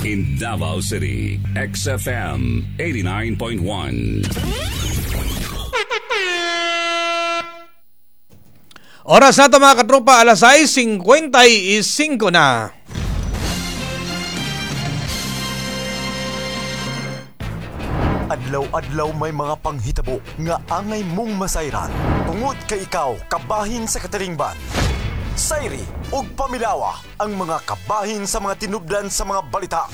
In Davao City, XFM 89.1. Oras na ito, mga katropa, alas 6:55 na. Adlaw-adlaw may mga panghitabo nga angay mong masayran. Tungod kay ikaw kabahin sa katilingban. Sayri ug pamilawa ang mga kabahin sa mga tinubdan sa mga balita.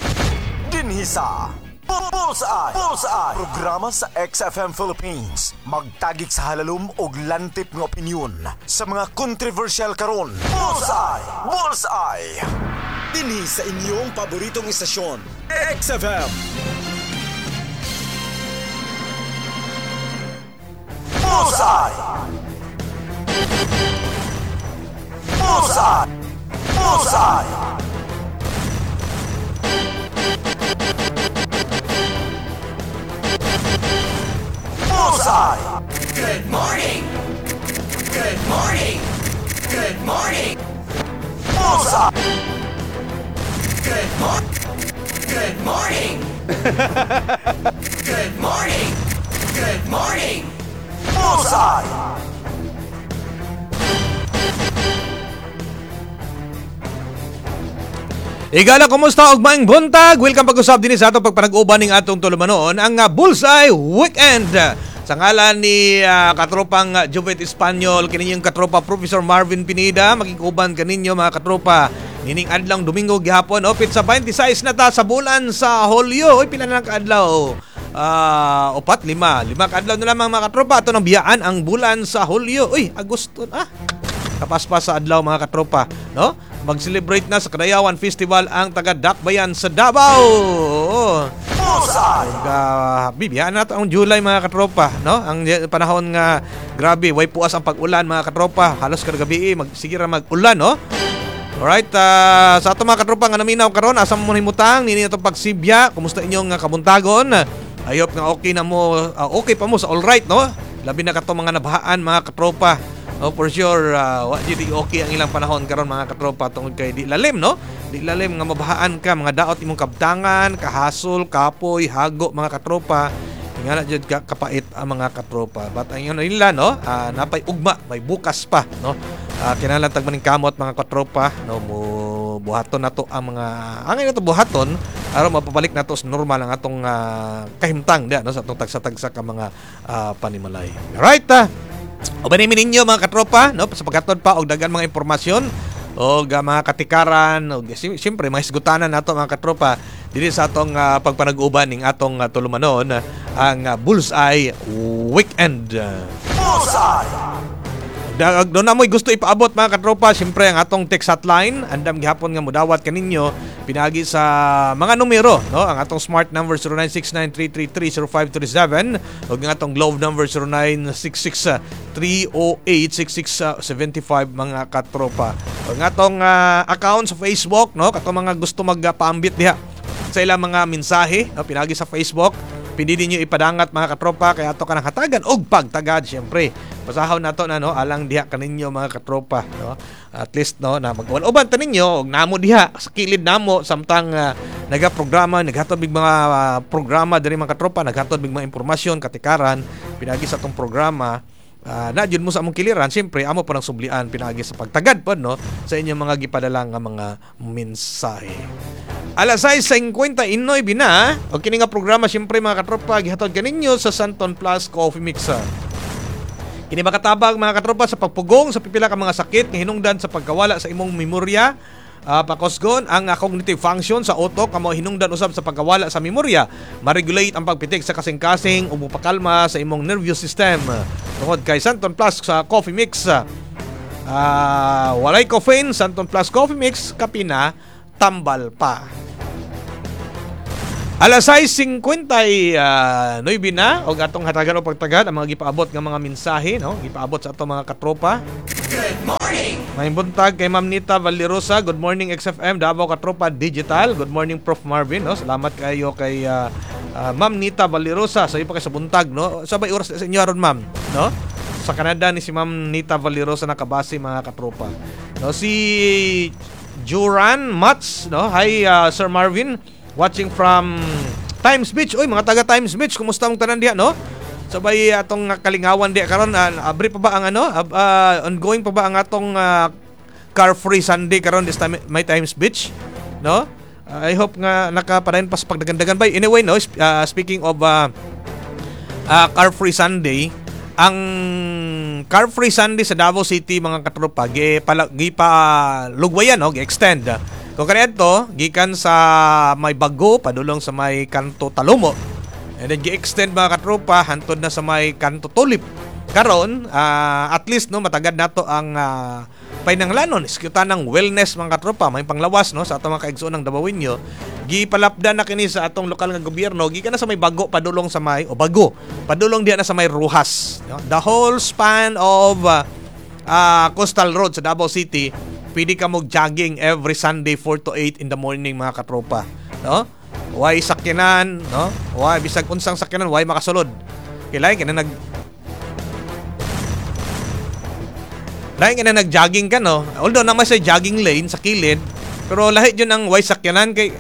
Dinhi sa Bullseye! Bullseye! Programa sa XFM Philippines. Magtagik sa halalom og lantip nga opinyon sa mga kontrobersyal karon. Bullseye! Bullseye! Dinhi sa inyong paboritong istasyon, XFM. Bullseye! Bullseye! Bullseye! Bullseye! Good morning. Good morning. Good morning. Bullseye! Good morning. Good morning. Good morning. Good morning. Bullseye! Igala, kumusta og maayong buntag? Welcome pag-usab dinhi sa atong pagpanag-uban ning atong tulumanon, ang Bullseye Weekend. Sa ngalan ni katropang Jovet Espanyol, kini yung katropa Professor Marvin Pineda, makikuban kaninyo, mga katropa. Nining adlong Domingo gihapon, oh, sa 26 na ta sa bulan sa Hulyo. Oy, pila na lang kaadlaw? Upat, lima. Lima kaadlaw na lamang, mga katropa. Ato nang biyaan ang bulan sa Hulyo. Uy, Agosto na. Kapaspas sa adlaw, mga katropa, no? Mag-celebrate na sa Kadayawan Festival ang taga Dakbayan sa Davao. Bullseye! Bibiyaan na to ang July, mga katropa, no? Ang panahon nga grabe, way puas ang pag-ulan, mga katropa. Halos kada gabi magsige ra mag-ulan, no? Alright, sa ato mga katropa nga naminaw karon, asa mo himutang nini atong pagsibya, kumusta inyong kabuntagon? I hope nga okay na mo, okay pa mo sa all right, no? Labi na kato mga nabahaan, mga katropa. Oh, for sure, wa jud okay ang ilang panahon karon, mga katropa, tungod kay di lalim, no? Di lalim nga mabahaan ka, mga daot imong kabtangan, kahasol, kapoy, hago, mga katropa. Ingana jud ka kapait ang mga katropa. But ang ingon nila, no, napay ugma, may bukas pa, no? Kinahanglan tag maning kamot, mga katropa, no, mo buhaton nato ang mga angay nato buhaton aron mapabalik nato sa normal ang atong kahimtang diya, no, sa atong tagsa-tagsa ka mga panimalay. Alright, uban ninyo, mga katropa, no, sa paghatod pa og daghan mga impormasyon og mga katikaran og siyempre mga hisgutanan nato, mga katropa, dinhi sa atong pagpanag-uban ning atong tulumanon, ang Bullseye Weekend. Bullseye! Doon na mo'y gusto ipaabot, mga katropa, siyempre ang atong text hotline, andam gihapon nga mudawat kaninyo pinagi sa mga numero, no? Ang atong Smart number 0969-333-0537 ug ang atong Globe number 0966-308-6675, mga katropa. Ug ang atong account sa Facebook, no? Katong mga gusto magpaambit diha sa ilang mga mensahe, no? Pinagi sa Facebook, pindi ninyo ipadangat, mga katropa, kaya ato ka nang hatagan og pagtagad, syempre. Basahon nato na, no, alang diha kaninyo, mga katropa, no? At least, no, na mag-uban ta ninyo og namo diha sa kilid namo samtang nagaprograma, naghatod mig mga programa diri, mga katropa, naghatod mig mga impormasyon, katikaran pinagi sa atong programa. Na jud mo sa among kiliran, siyempre amo pa nang sublian pinagi sa pagtagad pod, no, sa inyong mga gipadala nga mga mensahe. Alas 6:59 na. O kini nga programa, siyempre, mga katropa, gihatod kaninyo sa Santon Plus Coffee Mixer. Kini makatabang, mga katropa, sa pagpugong sa pipila ka mga sakit nga hinungdan sa pagkawala sa imong memorya. Pakosgon ang cognitive function sa utok nga mao hinungdan usab sa pagkawala sa memorya. Ma-regulate ang pagpitik sa kasing-kasing ug mopakalma sa imong nervous system. Tungod kay Santon Plus sa Coffee Mix, walay caffeine, Santon Plus Coffee Mix, kape na, tambal pa. Alas 6:59 na og atong hatagan o pagtagad ang mga gipaabot nga mga mensahe, no? Gipaabot sa atong mga katropa. Good morning. Maayong buntag kay Ma'am Nita Valerosa. Good morning, XFM Davao Katropa Digital. Good morning, Prof Marvin, no? Salamat kayo kay Ma'am Nita Valerosa sa iyo pa kay sa buntag, no? Sabay oras sa inyo aron, ma'am, no? Sa Canada ni si Ma'am Nita Valerosa nakabase, mga katropa. No, si Juran Mats, no? Hi, Sir Marvin, watching from Times Beach. Uy, mga taga Times Beach, kumusta mong tanan diha, no? Sabay atong kalingawan diha karon, abri pa ba ang ano? Ongoing pa ba ang atong Car Free Sunday karon this time may Times Beach, no? I hope nga nakapadayon pa sa pagdagandagan bay. Anyway, no, speaking of Car Free Sunday, ang Car Free Sunday sa Davao City, mga katropa, gi pala, gi pa lugwayan, no, gi-extend. Kung kaniadto gikan sa may Bago padulong sa may Kanto Talomo. And then gi-extend, mga katropa, hantod na sa may Kanto Tulip. Karon, at least, no, matagad nato ang painanglanon iskyutan ng wellness, mga katropa, may panglawas, no, sa atong mga kaigsoon ng Dabawenyo. Gipalapdan na kini sa atong lokal nga gobyerno gikan na sa may Bago padulong sa may o Bago padulong diha na sa may Roxas, no? The whole span of Coastal Road sa Davao City, pwede ka mo jogging every Sunday 4 to 8 in the morning, mga katropa, no? Way sakyanan, no? Way bisag unsang sakyanan, way makasulod. Kay lain ka na nag-jogging ka, no? Although naman sa jogging lane sa kilid, pero lahi jud ang way sakyanan kay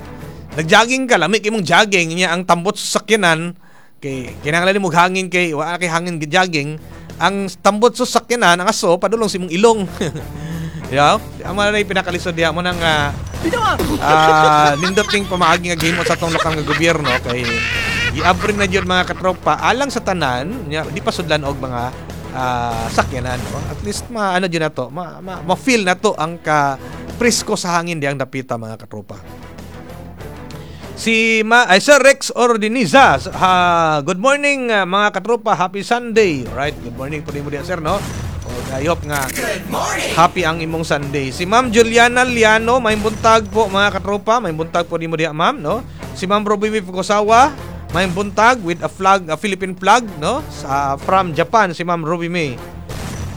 nag-jogging ka, lami kay mong jogging niya ang tambot sa sakyanan kay kinahanglan mo hangin kay wa kay hangin gi-jogging. Ang tambot sa sakyanan, ang aso padulong sa imong ilong. Yeah, ang mga na pinakalisod diha mo nang nindot ning pamaagi nga gihimo sa atong lokal nga gobyerno kay giabri na jud, mga katropa, alang sa tanan nya di pa sudlan og mga sakyanan, no? At least maano jud na to, ma-feel na to ang ka presko sa hangin diyang dapita, mga katropa. Si Ma ay Sir Rex Ordiniza. Ha, good morning, mga katropa, happy Sunday. Right, good morning po nimo diha, sir, no? O, I hope nga Good morning. Happy ang imong Sunday. Si Ma'am Juliana Liano, may buntag po, mga katropa, may buntag po nimo diha, ma'am, no? Si Ma'am Ruby Fukusawa, may buntag with a flag, a Philippine flag, no? Sa from Japan si Ma'am Ruby May.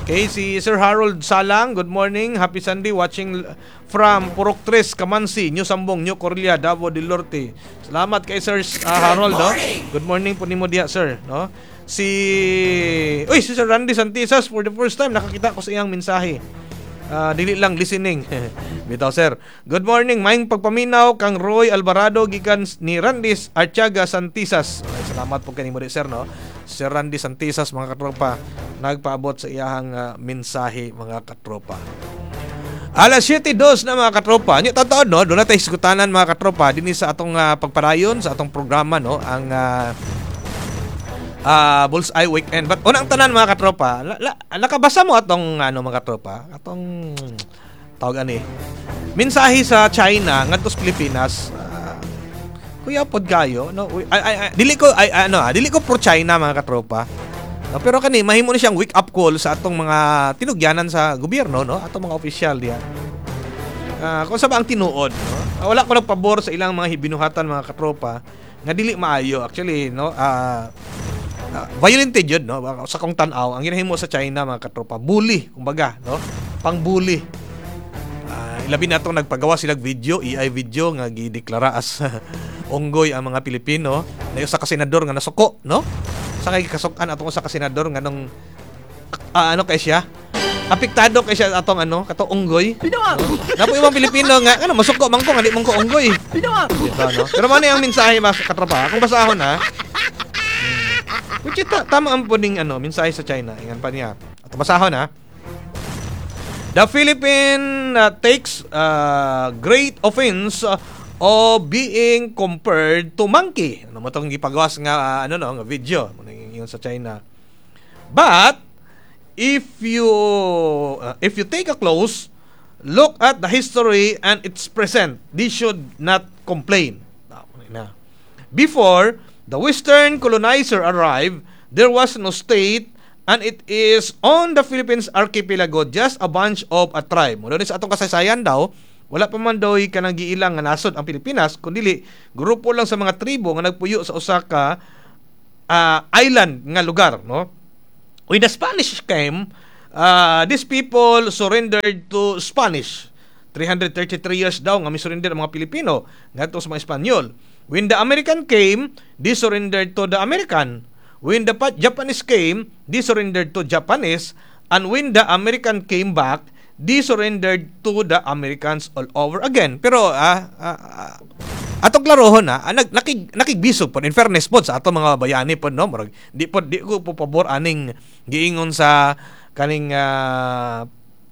Okay, si Sir Harold Salang, good morning, happy Sunday, watching from Purok Tres, Kamansi, New Sambong, New Corella, Davao del Norte. Salamat kay Sir Harold, no? Good morning po nimo diha, sir, no? Si Uy, si Sir Randy Santisas, for the first time nakakita ko sa iyang mensahe. Dili lang listening. Bitaw, sir. Good morning, maayong pagpaminaw kang Roy Alvarado gikan ni Randy Archaga Santisas. Okay, salamat po kanimo di, sir, no. Sir Randy Santisas, mga katropa, nagpaabot sa iyahang mensahe, mga katropa. Alas 7:02 na, mga katropa. Nya taon, no, doon na tayo hisgutanan, mga katropa, dinhi sa atong pagpadayon sa atong programa, no, ang Bullseye Weekend. But unang tanan, mga katropa, nakabasa mo atong ano, mga katropa, atong tawag ani. Mensahe sa China ngadto sa Pilipinas. Kuya pod kayo, no? Uy, ay, ay, ay, dili ko ay ano, dili ko pro China, mga katropa. No, pero kani mahimo ni siyang wake up call sa atong mga tinugyanan sa gobyerno, no? Atong mga opisyal diha. Kung sa ba ang tinuod, no? Wala ko nagpabor sa ilang mga binuhatan, mga katropa, nga dili maayo actually, no? Violent jud, no? Sa kong tan-aw, ang ginahimo sa China, mga katropa, bully kumbaga, no? Pang-bully. Ilabi na itong nagpagawa silang video, AI video nga gideklara as unggoy ang mga Pilipino. Na usa ka senador nga nasuko, no? Sa kay kasukan atong usa ka senador nga nung ano kay siya? Apektado kay siya atong ano, katong unggoy. No? Napo ibang Pilipino nga ano masuko man ko nga di man ko unggoy. Dito, no? Pero mao ni ang mensahe, mga katropa. Kung basahon ha. Which is, tama ang puning ano, mensahe sa China. Ingan pa niya. At basahon ha. The Philippine takes great offense of being compared to monkey. Ano mo tong gipagawas nga ano, no, nga video mo nang ingon sa China. But if you take a close look at the history and its present, they should not complain. Na. Before the Western colonizer arrived, there was no state and it is on the Philippines archipelago, just a bunch of a tribe. Muna sa atong kasaysayan daw, wala pa man daw kanang giilang nga nasod ang Pilipinas, kundi grupo lang sa mga tribo nga nagpuyo sa usa ka island nga lugar, no? When the Spanish came, these people surrendered to Spanish. 333 years daw nga mi-surrender ang mga Pilipino ngadto sa mga Espanyol. When the American came, they surrendered to the American. When the Japanese came, they surrendered to Japanese. And when the American came back, they surrendered to the Americans all over again. Pero atong klarohon na, nakigbisog po, in fairness po sa ato mga bayani po, no, murag di po, di ko po pabor aning giingon sa kaning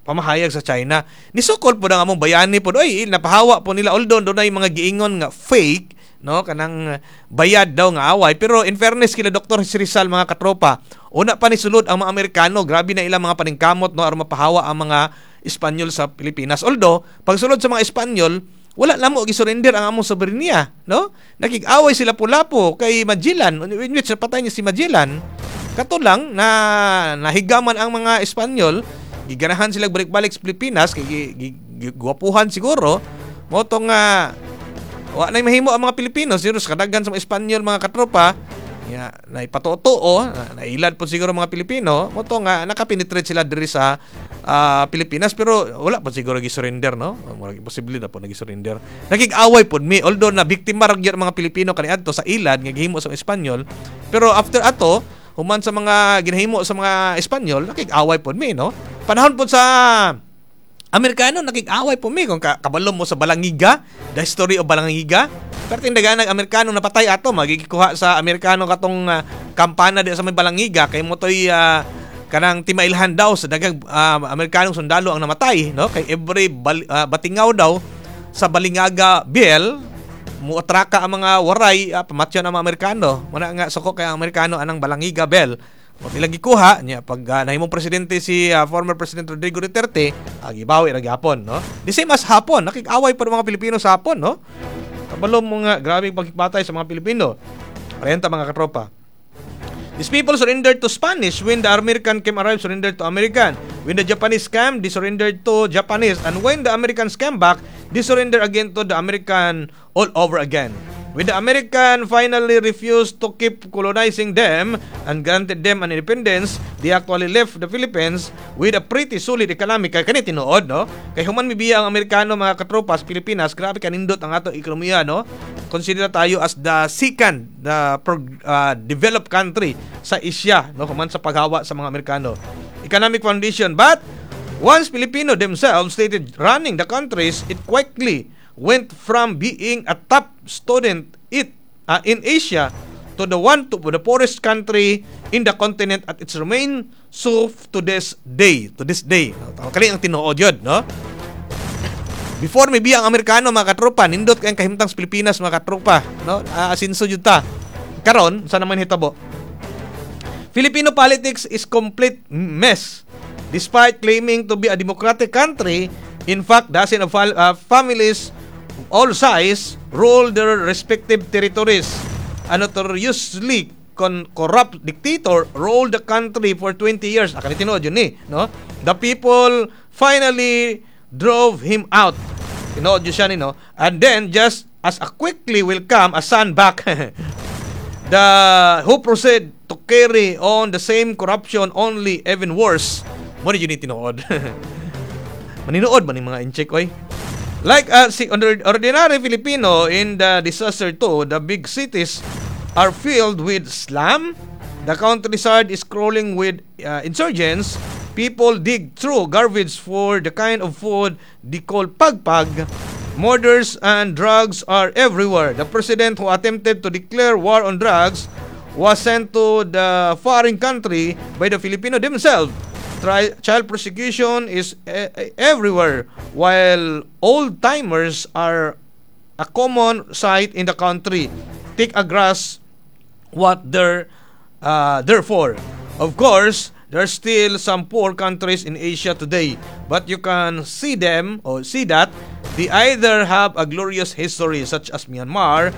pamahayag sa China. Nisukol po ang among bayani po, oy, napahawa po nila, although doon ay mga giingon nga fake, no, kanang bayad daw nga away. Pero in fairness kila Dr. Rizal, mga katropa, una pa ni sulod ang mga Amerikano, grabe na ilang mga paningkamot, no, aron mapahawa ang mga Espanyol sa Pilipinas. Although pagsulod sa mga Espanyol, wala namo gi-surrender ang among soberenya, no? Nakig-away sila Lapu-Lapu kay Magellan, in which napatay niya si Magellan. Kato lang na nahigaman ang mga Espanyol, giganahan sila balik-balik sa Pilipinas kay gwapuhan siguro. Mo tong wa na mahimo ang mga Pilipino siguro sa kadaghan sa mga Espanyol, mga katropa, ya naipatuo, nailad po siguro mga Pilipino, mo to nga nakapenetrate sila diri sa Pilipinas, pero wala pa siguro gi-surrender, no? Murag imposible na po nagi-surrender. Nakig-away pod mi, although na biktima ra gyud ang mga Pilipino kaniadto sa ilad nga gihimo sa mga Espanyol, pero after ato, human sa mga ginahimo sa mga Espanyol, nakig-away pod mi, no? Panahon pod sa Amerikano, nakig-away po mi. Kung kabalo mo sa Balangiga, the history of Balangiga. Pero tindagan ng Amerikano napatay ato, magigikuha sa Amerikano katong kampana di sa may Balangiga kay mo toy kanang timailhan daw sa dagang Amerikanong sundalo ang namatay, no? Kay every batingaw daw sa Balingaga Bell, muatraka ang mga waray, pamatyon ang mga Amerikano. Muna nga suko kay ang Amerikano anang Balangiga Bell. O ilang gikuha niya pag nahimong presidente si former President Rodrigo Duterte, gibawi ra gyapon, no? The same as Hapon, nakig-away pa ng mga Pilipino sa Hapon, no? Kabalo mo nga grabe pagkipatay sa mga Pilipino. Parenta, mga katropa. These people surrendered to Spanish. When the American came arrived, surrendered to American. When the Japanese came, they surrendered to Japanese. And when the Americans came back, they surrendered again to the American all over again. When the American finally refused to keep colonizing them and granted them an independence, they actually left the Philippines with a pretty solid economy. Kay kani tinuod, no? Kay human mibiya ang Amerikano, mga katropa, sa Pilipinas, grabe kanindot ang ato ekonomiya, no? Consider tayo as the second the developed country sa Asia, no? Human sa paghawa sa mga Amerikano. Economic foundation, but once Filipino themselves started running the countries, it quickly went from being a top student it in Asia to the one to the poorest country in the continent at it's remain so to this day, to this day. Kani ang tinuod yun, no? Before may ang Amerikano, mga katropa, nindot kay kahimtang sa Pilipinas, mga katropa, no? Asinso jud ta. Karon sa naman hitabo, Filipino politics is complete mess. Despite claiming to be a democratic country, in fact, dozens of families of all size rule their respective territories. A notoriously corrupt dictator ruled the country for 20 years. Ah, kani tinuod yun ni, no? The people finally drove him out. Tinuod yun siya ni, no? And then, just as a quickly will come a son back, the who proceed to carry on the same corruption, only even worse. Mo ni yun ni tinuod. Maninuod man ni mga incheck oy. Like si ordinary Filipino in the disaster too, the big cities are filled with slum. The countryside is crawling with insurgents. People dig through garbage for the kind of food they call pagpag. Murders and drugs are everywhere. The president who attempted to declare war on drugs was sent to the foreign country by the Filipino themselves. Child prosecution is everywhere, while old timers are a common sight in the country. Take a grasp what they're therefore. Of course, there are still some poor countries in Asia today, but you can see them or see that they either have a glorious history such as Myanmar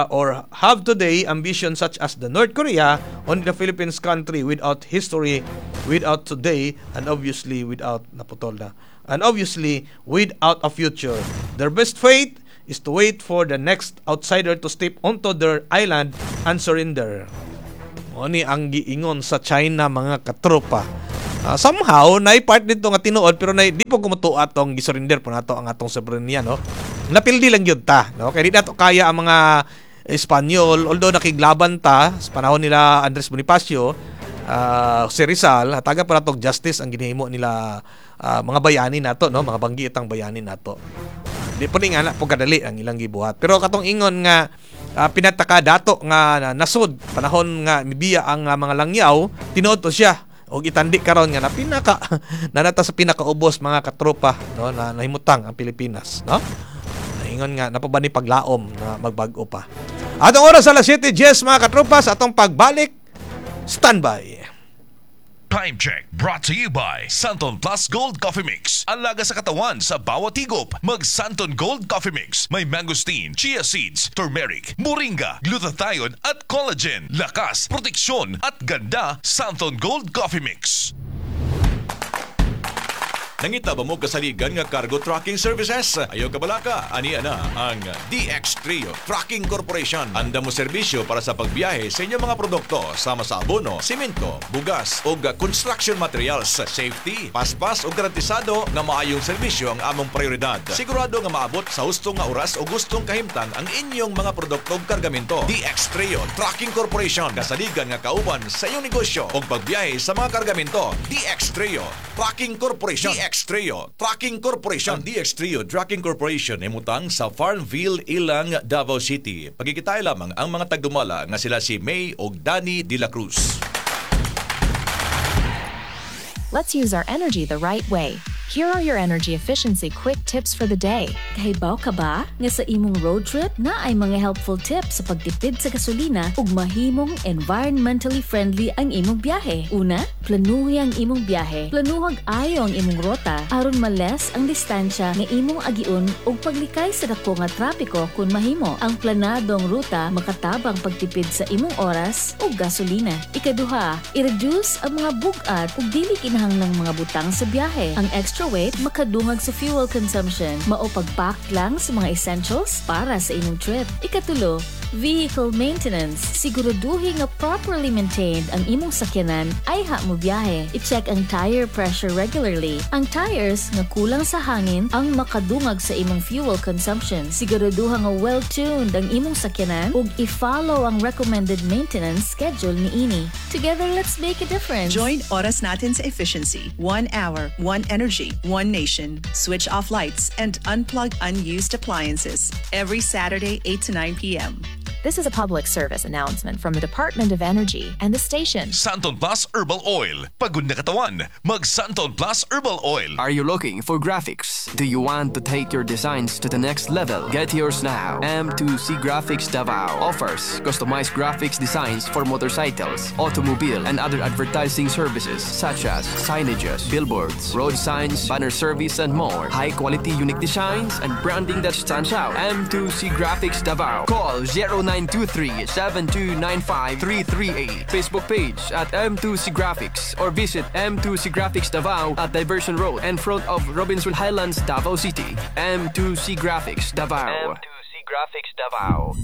or have today ambition such as the North Korea. Only the Philippines, country without history, without today, and obviously without, naputol na, and obviously without a future. Their best fate is to wait for the next outsider to step onto their island and surrender. Mo ni ang giingon sa China, mga katropa. Somehow nay part dito nga tinuod, pero nay di po kumutua tong gisurrender po nato ang atong soberenya, no? Napildi lang gyud ta, no? Kay di nato kaya ang mga Espanyol, although nakiglaban ta sa panahon nila Andres Bonifacio, si Rizal, hataga pa natog justice ang ginahimo nila. Mga bayani nato, no, mga banggitang bayani nato. Di po ni nga na po kadali ang ilang gibuhat. Pero katong ingon nga pinataka dato nga nasod panahon nga mibiya ang mga langyaw, tinuod to siya og itandi karon nga na pinaka nanata sa pinakaubos, mga katropa, no, na nahimutang ang Pilipinas, no. Ingon nga napa ba ni paglaom na magbag-o pa. Atong oras, alas 7:10, mga katropa. Sa atong pagbalik, standby. Time Check brought to you by Santon Plus Gold Coffee Mix. Alaga sa katawan sa bawat higop. Mag Santon Gold Coffee Mix. May mangosteen, chia seeds, turmeric, moringa, glutathione at collagen. Lakas, proteksyon at ganda. Santon Gold Coffee Mix. Nangita ba mo kasaligan nga cargo trucking services? Ayaw kabalaka, ania na ang DX Trio Trucking Corporation. Anda mo serbisyo para sa pagbiyahe sa inyong mga produkto sama sa abono, simento, bugas o construction materials. Safety, paspas o garantisado nga maayong serbisyo ang among prioridad. Sigurado nga maabot sa husto nga oras o gustong kahimtang ang inyong mga produkto ug kargamento. DX Trio Trucking Corporation. Kasaligan nga kauban sa inyong negosyo o pagbiyahe sa mga kargamento. DX Trio Trucking Corporation. DX Trio Trucking Corporation. Ang DX Trio Trucking Corporation imutang sa Farmville, Ilang, Davao City. Pagkikitay lamang ang mga tagdumala nga sila si May og Danny De La Cruz. Let's use our energy the right way. Here are your energy efficiency quick tips for the day. Kahibaw ka ba nga sa imong road trip na ay mga helpful tips sa pagtipid sa gasolina ug mahimong environmentally friendly ang imong biyahe? Una, planuhi ang imong biyahe. Planuhag ayo ang imong rota aron ma-less ang distansya nga imong agiun ug paglikay sa dako nga trapiko kung mahimo. Ang planadong ruta makatabang pagtipid sa imong oras ug gasolina. Ikaduha, i-reduce ang mga bug-at ug dili kinahanglang mga butang sa biyahe. Ang extra weight makadungag sa fuel consumption. Mao pagpack lang sa mga essentials para sa imong trip. Ikatulo, vehicle maintenance. Siguraduhin nga properly maintained ang imong sakyanan ayha mo biyahe. I-check ang tire pressure regularly. Ang tires nga kulang sa hangin ang makadungag sa imong fuel consumption. Siguraduha nga well-tuned ang imong sakyanan ug i-follow ang recommended maintenance schedule niini. Together, let's make a difference. Join Oras Natin sa Efficiency. 1 hour, one energy, one nation. Switch off lights and unplug unused appliances. Every Saturday, 8 to 9 p.m. This is a public service announcement from the Department of Energy and the station. Santon Plus Herbal Oil. Pagod na katawan, mag Santon Plus Herbal Oil. Are you looking for graphics? Do you want to take your designs to the next level? Get yours now. M2C Graphics Davao offers customized graphics designs for motorcycles, automobile, and other advertising services such as signages, billboards, road signs, banner service, and more. High quality, unique designs and branding that stands out. M2C Graphics Davao. Call 0923 7295 338. Facebook page at M2C Graphics or visit M2C Graphics Davao at Diversion Road in front of Robinson Highlands, Davao City. M2C Graphics Davao. M2C Graphics Davao.